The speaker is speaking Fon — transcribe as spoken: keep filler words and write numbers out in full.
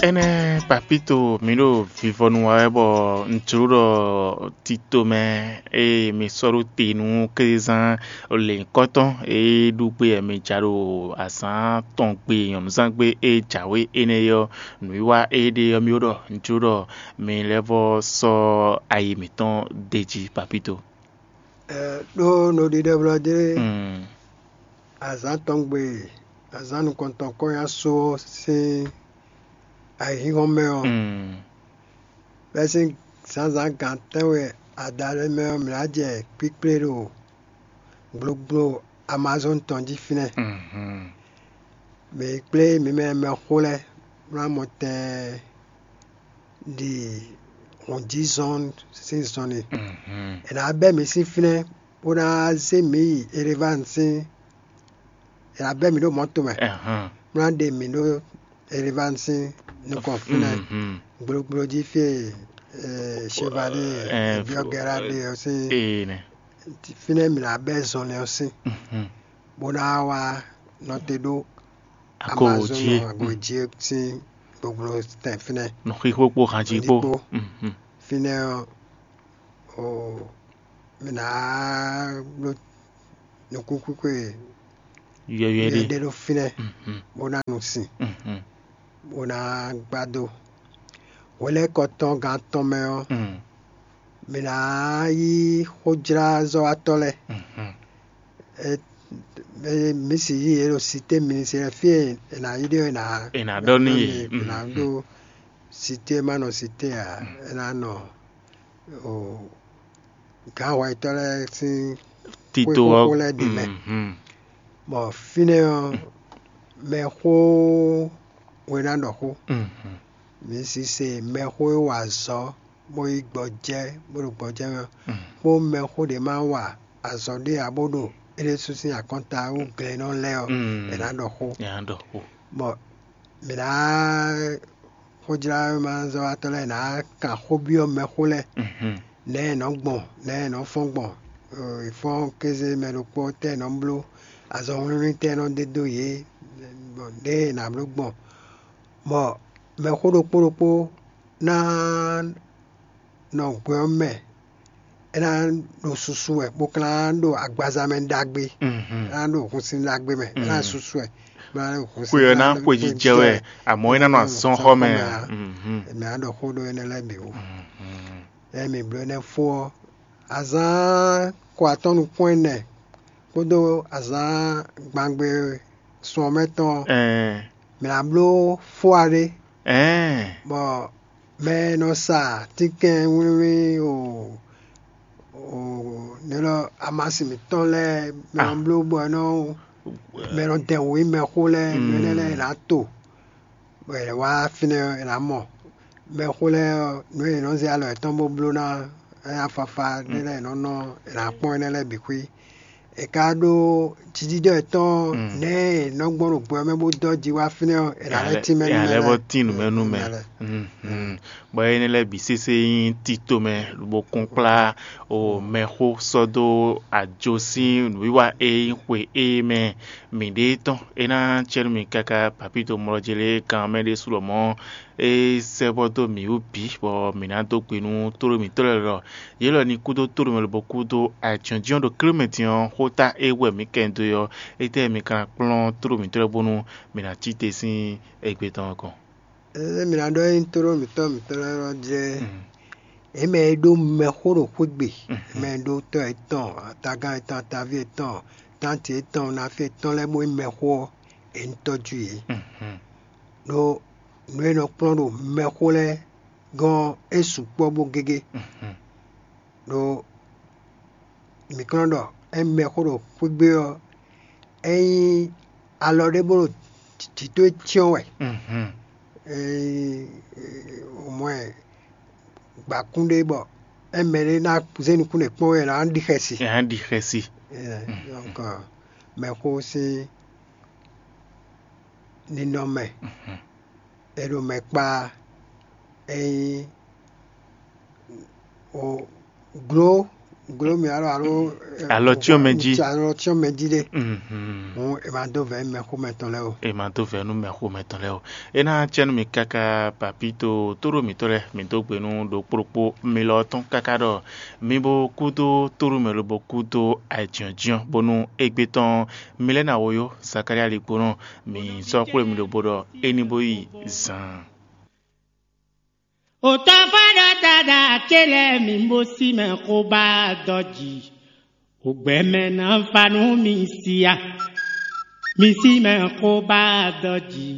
Énɛ́ Papíto, mǐ ɖo vivɔnu wa wɛ bɔ un jló ɖɔ tito mɛ e mi sɔ́ ɖó te nú kézán lěhunkɔtɔn e ɖu gbé wɛ mi ja ɖo azǎn tɔn gbe nyɔ̌nuzángbe e jǎwe énɛ́ é ɔ́, nǔwiwa e ɖe ɔ́, mì ɖɔ un jló ɖɔ mi lɛ́ vɔ́ sɔ́ ayi mǐtɔn d'é jí Papíto. Ɛ ɖó nɔɖiɖɛblɔ́ dé azǎn tɔn gbe azǎn nukɔntɔn kɔ́nyá só ɔ́ sín ayǐhínhɔ́n mɛ ɔ́, bɛ́sín zǎnzǎn gan tɛ́nwe adaɖé mɛ ɔ́, mǐ ná jɛ kpíkplé ɖo gblogblo Amazɔ́ni tɔn jí fínɛ́. Mǐ kplé mǐ mɛ mɛxó lɛ́ɛ bó ná mɔ tɛn ɖi hɔnjízɔn sín zɔnlin. È nǎ bɛ́ mǐ sín fínɛ́ bó ná zé mǐ yi Erevani sín è nǎ bɛ́ mǐ ɖo mɔ̌to mɛ, bó ná ɖe mǐ ɖo Erevani sín nukɔn fínɛ́ gblogblo jí fí e Chevalier Biɔgɛra ɖe ɔ́ sín. Fínɛ́ mǐ ná bɛ́ zɔnlin ɔ́ sín bó ná wá nɔ te ɖó Amazɔ́ni agojí sín gblogblo tɛn fínɛ́. Nǔxixo kpó hanjí kpó. Fínɛ́ ɔ́, mǐ ná bló nukúnkwíkwe yɔyɔɛ ɖe ɖé ɖó fínɛ́ bó ná nu sin bó ná gbá dó. Hwelɛ́kɔ tɔn gan tɔn mɛ ɔ́, mǐ ná yí xójlázɔ́watɔ́ lɛ́ɛ. Mǐ si yí yě ɖo sité minisitɛ́ fí e è nǎ yí ɖe ɔ́, è nǎ è nǎ ɖɔ nú yě. È nǎ ɖó sité ma nɔ sité ǎ, è nǎ nɔ gǎnhwɛtɔ́ lɛ́ɛ sín tito xwé ɔ́ xóxó lɛ́ɛ ɖě mɛ. Bɔ fínɛ́ ɔ́, mɛxó we ná ɖɔ xó. Mi si se mɛxó e wa azɔ̌ bó yí gbɔjɛ́ bó ɖo gbɔjɛ́ mɛ ɔ́, kpó mɛxó ɖě ma wa azɔ̌ ɖé ǎ bó ɖo é ɖésú sín akɔnta wú glɛ́nnɔ lɛ́ɛ ɔ́, è nǎ ɖɔ xó. Nya ɖɔ xó. Bɔ mǐ ná xójlámazɔ́watɔ́ lɛ́ɛ ná kan xó byɔ́ mɛxó lɛ́ɛ nɛ̌ è nɔ gbɔn, nɛ̌ è nɔ fɔ́n gbɔn, è fɔ́n kéze mɛ ɖokpó tɛ́ è nɔ bló, azɔnwlíwlí tɛ́ è nɔ ɖe dó yě, bɔ ɖěe è nǎ bló gbɔn, bɔ mɛxó ɖokpó ɖokpó ná nɔ gbɛ ɔ́ mɛ, é ná ɖo susu wɛ bó ka ná ɖo agbaza mɛ ɖagbe, é ná ɖo hunsin ɖagbe mɛ, é ná susu wɛ, bó ná ɖo hunsin Xwe ɔ́ ná xwejijɛ wɛ, àmọ́ é ná nɔ azɔn xɔ mɛ ǎ. Mhm. Mɛ á ɖɔ xó ɖó énɛ́ lɛ́ɛ bǐ wú. Ɛ mi bló énɛ́ fó ɔ́, azǎn ko atɔ́ nukún ɛnɛ kpódó azǎn gbangbe sun ɔ́ mɛ tɔn ɔ́, Ɛɛ, mǐ ná bló fóa ɖé, ɛɛ, bɔ mɛ e nɔ sa tínkɛn wlíwlí o o nɛ́ lɔ amasin mǐtɔn lɛ́ɛ mɛ nɔ Ah. bló bɔ é nɔ mɛ nɔ dɛn wǔ yi mɛxó lɛ́ɛ nǔ énɛ́ lɛ́ɛ è nǎ to, bɔ è wá fínɛ́ è nǎ mɔ mɛxó lɛ́ɛ ɔ́, nǔ e è nɔ zé alɔ yětɔn bó bló ná é ná fafa ɖé lɛ́ɛ è nɔ nɔ è nǎ kpɔ́n énɛ́ lɛ́ɛ bǐ xwí. È ka ɖó jiɖiɖɔ yětɔn nɛ̌ è nɔ gbɔn ɖo gbɛ ɔ́ mɛ bó dɔ́ ji wá fínɛ́ ɔ́, è nǎ lɛ́ tínmɛ nú nya mɛ lɛ́ lɛ́ɛ. bɔ tín nǔ mɛ nú mɛ. Mɛ lɛ́ɛ. Mhm. Bɔ énɛ́ lɛ́ɛ bǐ sésé nyí tito mɛ, lobo kún kplá o mɛxó sɔ́ dó ajo sín nǔwiwa e nyí xwe e mɛ mǐɖée tɔn. É ná cɛ nú mi káká papíto mlɔjélé kan mɛ ɖésú lɔ mɔ̌ é sɛ́ bɔ dó mǐ wú bǐ, bɔ mǐ ná dó gbe nú tóɖó mǐtɔn lɛ́ɛ ɖɔ yě lɔ ní kú dó tóɖó mɛ lobo kú dó ajɔ̌njɔ́n ɖo klé mɛ din ɔ́, xóta e wɛ mǐ kɛ dó é ɔ́, étɛ́ mi ka ná kplɔ́n tóɖó mǐtɔn lɛ́ɛ bónú mǐ ná cí te sín égbé tɔn ɔ́ gɔ́n? Ée mǐ ná ɖɔ é nyí tóɖó mǐtɔn mǐtɔn lɛ́ɛ ɔ́ jlɛ́, é mɛ e ɖó mɛxó ɖo xwé gbe, mɛ e ɖó tɔ́ yětɔn, atagán yětɔn, ataví yětɔn, tánti yětɔn, nafí yětɔn lɛ́ɛ bó nyí mɛxó ɔ́, è ní tɔ́jú yě. Ɖó nǔ e nɔ kplɔ́n ɖo mɛxó lɛ́ɛ gɔ́n ɔ́, é sukpɔ́ bó gégé. Ɖó mǐ kplɔ́n ɖɔ é mɛxó ɖo xwé gbe ɔ́, é nyí alɔ ɖé bó ɖo jǐ towe cyɔ́n wɛ. Ée mɔ ɛ gbakún ɖé bɔ é mɛ ɖé ná zé nukún ɖé kpɔ́n wɛ ná ɖi xɛsi. Nya ɖi xɛsi. Donc mɛxó sín ninɔmɛ e ɖo mɛ kpá é nyí o gló Gló mì alɔ alo Alɔ cyɔ́n mɛ jí. Alɔ cyɔ́n mɛ jí ɖe. Mhm. Hǔn è ma dó vɛ̌ mɛxómɛtɔn lɛ́ɛ o. E ma dó vɛ̌ nú mɛxómɛtɔn lɛ́ɛ o. É ná cɛ nú mi káká papito tóɖó mǐtɔn lɛ́ɛ mi dó gbe nú ɖokpóɖokpó mi lɔ tɔn káká ɖɔ mi bo kúdó tóɖó mɛ lobo kúdó ayǐjínjɔ́n bónú égbé tɔn mi lɛ́ ná woyó Zakalía ligbónɔ mi sɔ́ xwlé mi ɖo bo ɖɔ é ní bó yi zan. Òtɔ́fá ɖɔ tada ce lɛ́ɛ mi bó sí mɛ xó bá dɔ jǐ. Ògbɛmɛ ná fa nú mi sia. Mi sí mɛ xó bá dɔ jǐ.